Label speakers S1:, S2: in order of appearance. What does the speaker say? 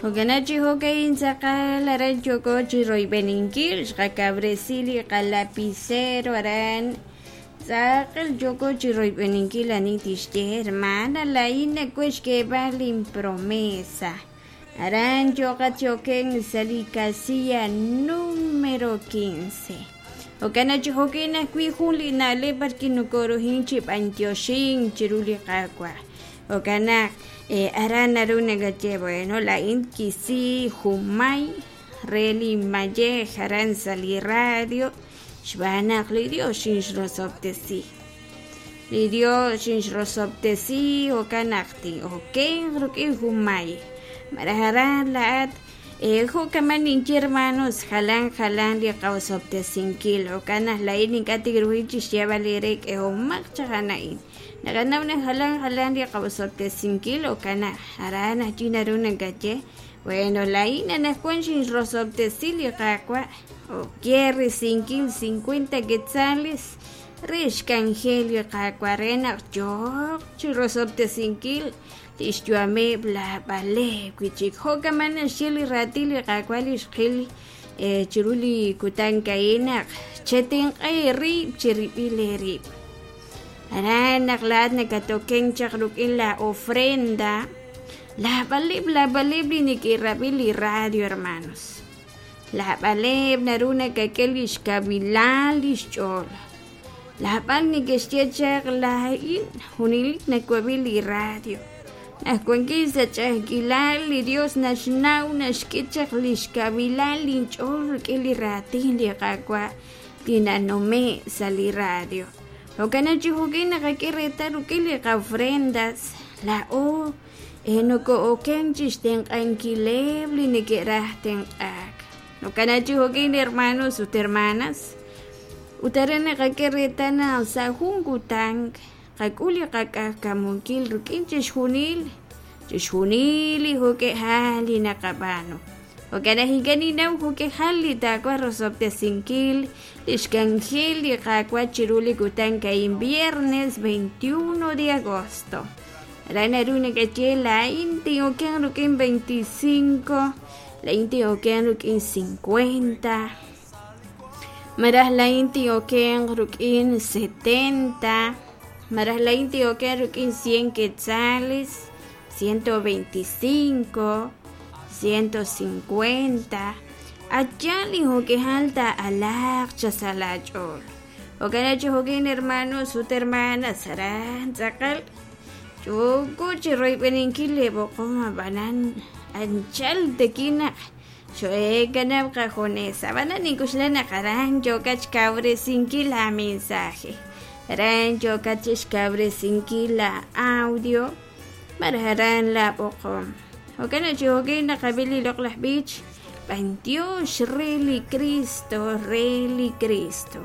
S1: Jo'kan chi jo'ka'in tz'aqal aran yooko chi royb'eninkil xqakawresi li qalapicero aran tz'aqal yooko chi royb'eninkil ani tixye hermana laa'in nawaj xk'eeb'al linpromesa aran yooqat chi okenk sa' li casilla número 15. Jo'kan chi jo'ka'in ajwi' jun li na'leb' b'arwi' nokorohin chi b'antioxink chiru li Qaawa'. Jo'kan naq aran naru nakaye bueno laa'in kisi junmay re li mayej aran sa' li radio xb'aan naq li Dios xinxrosob'tesi. Li Dios xinxrosob'tesi jo'kan naq tin'okenq rik'in junmay. Malaj aran laa'at jo'kaman ninye hermanos jalan jalan li qaosob'tesinkil jo'kan naq laa'in ink'a' tinruhin chixyeeb'al eere k'ehomaq chaq a'in. Naqanaw naq jalan jalan li qaosob'tesinkil jo'kan naq aran ajwi' naru nakaye bueno laa'in anaqwan xinrosob'tesi li Qaawa' oke risinkil 50 quetzales re xk'anjel li Qaawa' re naq yooq chi rosob'tesinkil lix yu'ameb' lab'aleb' wi'chik. Jo'kaman naxye li raatin li Qaawa' li xqil chiru li kutan a'in naq chetenq'a eerib' cherib'il eerib'. Aran naq laa'at nakatokenk chaq rik'in la ofrenda lab'aleb' lab'aleb' li neke'rab'i li radio hermanos. Lab'aleb' naru nakak'e li xkawilal li xch'ool. Lab'al neke'xye chaq laa'in junelik nawab'i li radio. Naq wankin sa' ch'a'ajkilal li Dios naxnaw naxk'e chaq li xkawilal linch'ool rik'in li raatin li Qaawa' li nanume' sa' li radio. Jo'kan chi jo'kin naqak'e reetal rik'in li qafrendas laa'o noko'oken chi xtenq'ankileb' li neke'raj tenq'aak. Jo'kan chi jo'kin hermanos ut hermanas ut aran naqak'e reetal naq sa' jun kutan qak'ul li qak'ajkamunkil rik'in chixjunil chixjunil li jo'k'ejal li naqab'aanu. Jo'kan naq ink'a' ninnaw jo'k'ejal li taawaj rosob'tesinkil li xk'anjel li Qaawa' chiru li kutan a'in viernes 21 de agosto. Aran naru nakaye laa'in tin'okenq rik'in 25, laa'in tin'okenq rik'in 50, malaj laa'in tin'okenq rik'in 70, malaj laa'in tin'okenq rik'in 100 quetzales, 125, 150. Allá li jo'k'ejal taa'alaaq chasa' laach'ool. Jo'kan chi jo'kin hermanos ut hermanas aran tz'aqal yooko chi royb'eninkil li b'oqom ab'anan anchal tekin naq xo'eekanab' qajunes. Ab'anan nink'uxla naq aran yookat xkawresinkil la mensaje. Aran yookat chixkawresinkil la audio malaj aran la b'oqom. Jo'kan chi jo'kin naqab'i li loq'laj b'ich b'antiox re li Cristo, re li Cristo.